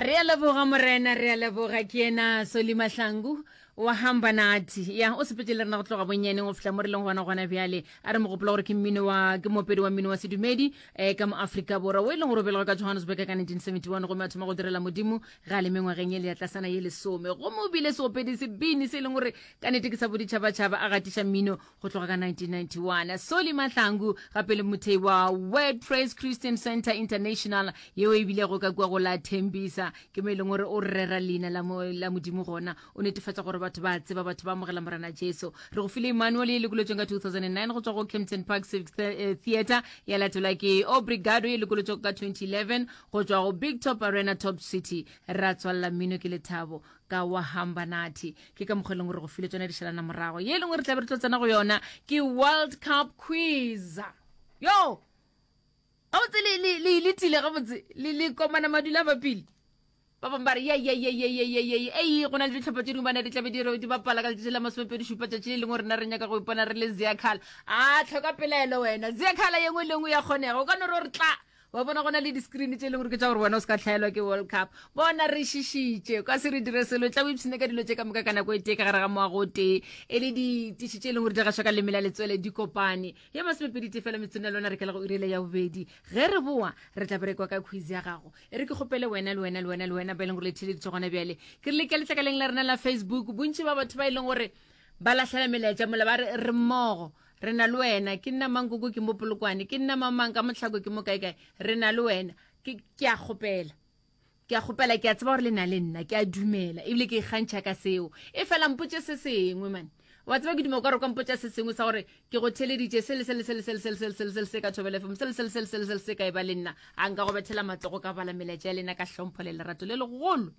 Re a leboga Morena, re a leboga. Ke yena Solly Mahlangu wa hamba nathi. Ya, o sepetše le rena go tloga bonnyaneng go fihla mo re leng gona gona bjale. A re mo gopola gore ke mmino wa ke moopedi wa mmino wa sedumedi eh, ka mo Afrika Borwa o e leng gore o belegwe ka Johannesburg ka 1971 gomme a thoma go direla Modimo ga a le mengwageng ye le ya tlasana ye lesome. Gomme o bile seopedi sebini se e leng gore ka nete ke sa boditšhabatšhaba a gatiša mmino go tloga ka 1991. Solly Mahlangu gape le mothei wa Word Praise Christian Center International yeo e bilego ka kua go la Tembisa, ke mo e leng gore o rera leina la, mo, la Modimo gona, o netefatša gore batho ba tseba, batho ba amogela Morena Jesu. Re go file Emmanuel ye lekolotšweng ka 2009 go tšwa go Kempton Park Civic eh, Theatre, ya latelwa ke Obrigado ye lekolotšwego ka 2011 go tšwa go Big Top Arena Top City. Ra tswalela mmino ke lethabo ka wa hamba nathi. Ke ka mokgwa e leng gore go file tsona di šalana morago. Ye e leng gore re tla be re tlo tsena go yona ke World Cup quiz. Yo! Gabotse le le le letile gabotse le le komana madula ba pele. Ba bangwe ba re ye ye ye ye ye ye ye ei go na le dihlopha tše dingwe bana di tlabe di re di bapala ka letšatši la masomepedi šupa tšatši le lengwe rena re nyaka go ipona re le Ziakhala. A tlhoka pelaelo wena. Ziakhala ye nngwe le nngwe ya kgonega. O ka no re o re tla wa bona go na le di-screen tše e leng gore ke tša gore wena o se ka hlaelwa ke world cup bona re šišitše ka se re dire selo tla o ipshine ka dilo tše ka moka ka nako e tee ka gare ga moago o tee e le ditiši tše e leng gore di gašwa ka leme la letswele di kopane ye masomepedi tee fela metsong ya lona re kela go irele ya bobedi ge re boa re tla berekwa ka quiz ya gago e re ke kgopele wena le wena le wena le wena ba e leng gore le theleditše gona bjale ke re le ka letlakaleng la rena la facebook bontši ba batho ba e leng gore ba lahlela melaetša mola ba re re mmogo Re na le wena. Ke nna mankoko ke mo Polokwane. Ke nna mamang ka mohlako ke mo kaekae. Re na le wena. Ke, ke a kgopela. Ke a kgopela, ke a tseba gore le na le nna. Ke a dumela. Ebile ke ikgantšha ka seo. E fela mpotše se sengwe, man. Wa tseba ke duma o ka re o ka mpotša se sengwe sa gore ke go theleditše se le se le se le se le se le se le se le se le se ka Thobela FM, se le se le se le se le se le se ka e ba le nna. A nka go bethela matsogo ka bala melaetša ya lena ka hlompho le lerato le legolo.